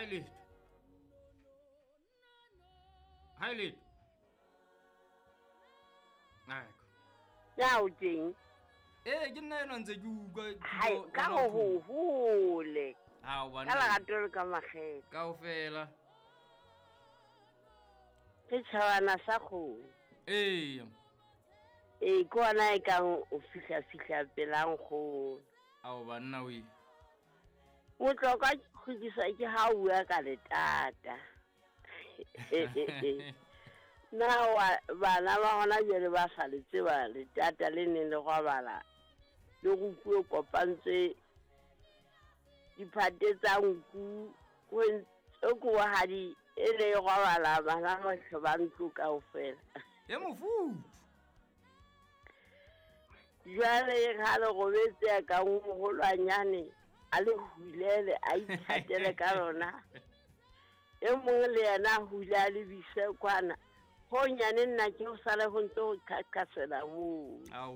letho, ha e letho. Aiko. Na o teng? Ee, ke nna eno ntse ke utlwa. Hai, ka go go hole. Ao Ka banna. lerato le ka makgethe. Kaofela. Ke tšhabana sa kgomo. Ee. Ee, ke ona e kang o fihla-fihla pela nkgono. Ao banna we. Motlokwa ke kgutlisa ke ha o bua ka letata. Na wa bana ba hona jwale ba sa le tseba letata le neng le robala le rukuwe kopantswe diphate tsa nku ho ntse kobohadi e le e robala bana bohle ba ntlo kaofela. E mofuthu. Jwale ha le robetse ya ka moholwanyane a le hulele a ithatele ka lona. E mong le yena a hule a lebise kwana. Ho nyane nna ke ho sale ho ntse ho qhaqhasela moo. Ao.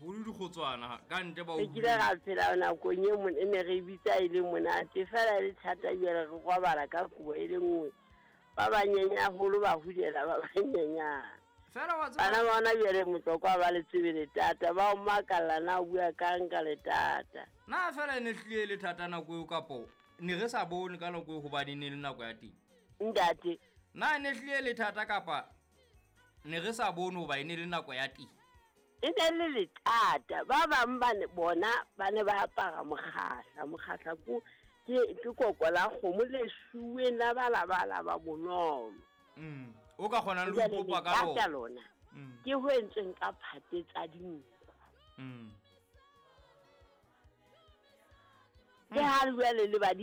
Ho le dikgotswana ka ntle ba o Re kile ra phela nakong e e ne re bitsa e le monate fela e le thata jwale re robala ka kobo e le nngwe. Ba banyenyane haholo ba hulela ba banyenyane. Fela wa tseba. Bana ba hona jwale motlokwa ba le tsebe letata, ba o makalla na o bua kang ka letata. Na fela e ne hlile e le thata nako eo kapo ne re sa bone ka nako eo hobane e ne le nako ya teng? Ntate. Na e ne hlile e le thata kapa ne re sa bone hoba e ne le nako ya teng? E ne le letata. Ba bang ba ne bona ba ne ba apara mokgahla. Mokgahla ke koko la kgomo le suweng la balabala ba bonolo. O ka kgonang le ho ipopa ka Jwale letata lona. lona. Ke ho entsweng ka phate tsa dinku. Ke ha jwale le ba